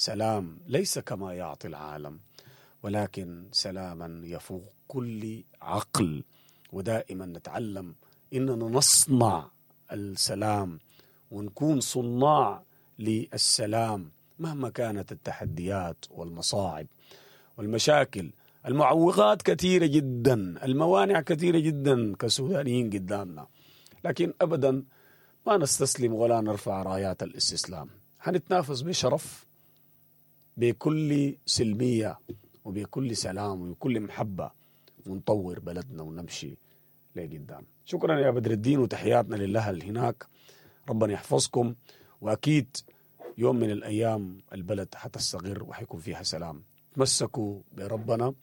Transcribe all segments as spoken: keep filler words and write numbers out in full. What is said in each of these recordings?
سلام ليس كما يعطي العالم، ولكن سلاما يفوق كل عقل. ودائما نتعلم اننا نصنع السلام ونكون صناع للسلام مهما كانت التحديات والمصاعب والمشاكل. المعوقات كثيرة جدا، الموانع كثيرة جدا كسودانيين قدامنا، لكن أبدا ما نستسلم ولا نرفع رايات الاستسلام. حنتنافس بشرف، بكل سلمية وبكل سلام وبكل محبة، ونطور بلدنا ونمشي لقدام. شكرا يا بدر الدين، وتحياتنا للأهل هناك، ربنا يحفظكم، وأكيد يوم من الأيام البلد حتستقر وحيكون فيها سلام. تمسكوا بربنا،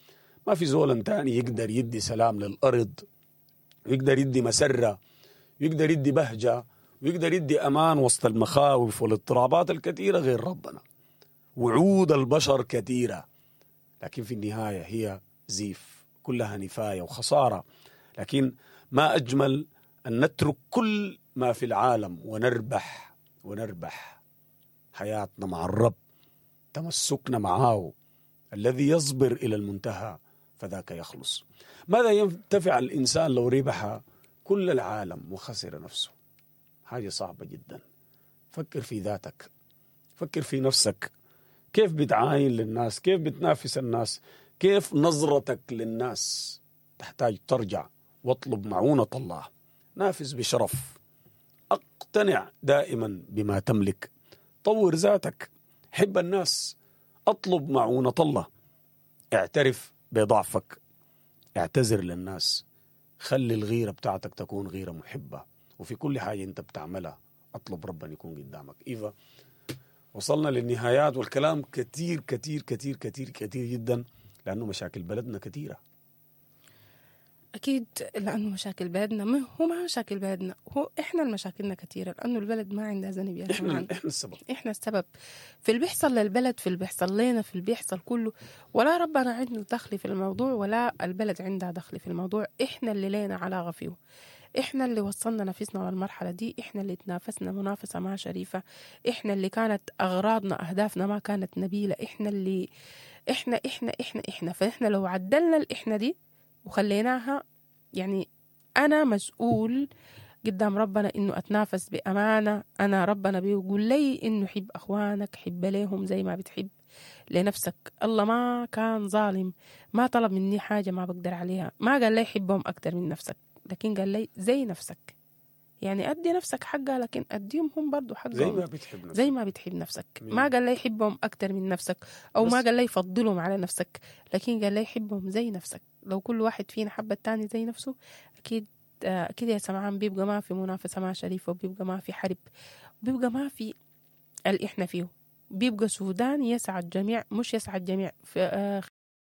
ما في زول تاني يقدر يدي سلام للأرض، ويقدر يدي مسرة، ويقدر يدي بهجة، ويقدر يدي أمان وسط المخاوف والاضطرابات الكثيرة غير ربنا. وعود البشر كثيرة، لكن في النهاية هي زيف، كلها نفاية وخسارة. لكن ما أجمل أن نترك كل ما في العالم ونربح، ونربح حياتنا مع الرب، تمسكنا معه الذي يصبر إلى المنتهى فذاك يخلص. ماذا ينتفع الإنسان لو ربح كل العالم وخسر نفسه؟ حاجة صعبة جدا. فكر في ذاتك، فكر في نفسك، كيف بتعاين للناس، كيف بتنافس الناس، كيف نظرتك للناس. تحتاج ترجع واطلب معونة الله. نافس بشرف، اقتنع دائما بما تملك، طور ذاتك، حب الناس، اطلب معونة الله، اعترف بضعفك، اعتذر للناس، خلي الغيرة بتاعتك تكون غيرة محبة، وفي كل حاجة انت بتعملها اطلب ربنا يكون قدامك. إيفا، وصلنا للنهايات، والكلام كتير كتير كتير كتير كتير جدا، لأنه مشاكل بلدنا كثيرة. أكيد، لأنه مشاكل بلدنا ما هو ما مشاكل بلدنا، هو إحنا المشاكلنا كثيرة، لأنه البلد ما عندها ذنب يا إحنا جماعة. إحنا السبب، إحنا السبب في اللي بيحصل للبلد، في اللي بيحصل لنا، في اللي بيحصل كله. ولا ربنا عنده دخل في الموضوع، ولا البلد عندها دخل في الموضوع. إحنا اللي لنا علاقة فيه، إحنا اللي وصلنا نفسنا للمرحلة دي، إحنا اللي تنافسنا منافسة ما شريفة، إحنا اللي كانت أغراضنا أهدافنا ما كانت نبيلة، إحنا اللي إحنا إحنا إحنا إحنا فإحنا لو عدلنا الإحنا دي وخليناها، يعني أنا مسؤول قدام ربنا إنه أتنافس بأمانة. أنا ربنا بيقول لي إنه حب أخوانك، حب ليهم زي ما بتحب لنفسك. الله ما كان ظالم، ما طلب مني حاجة ما بقدر عليها، ما قال لي حبهم أكتر من نفسك، لكن قال لي زي نفسك. يعني أدي نفسك حقها، لكن أديهم هم برضو حقهم زي ما بتحب نفسك، زي ما بتحب نفسك. ما قال لي حبهم أكتر من نفسك، أو ما قال لي فضلهم على نفسك، لكن قال لي حبهم زي نفسك. لو كل واحد فينا حب التاني زي نفسه، أكيد أكيد يا سمعان بيبقى ما في منافسة ما شريفة، وبيبقى ما في حرب، وبيبقى ما في اللي إحنا فيه. بيبقى سودان يسعى الجميع، مش يسعى الجميع في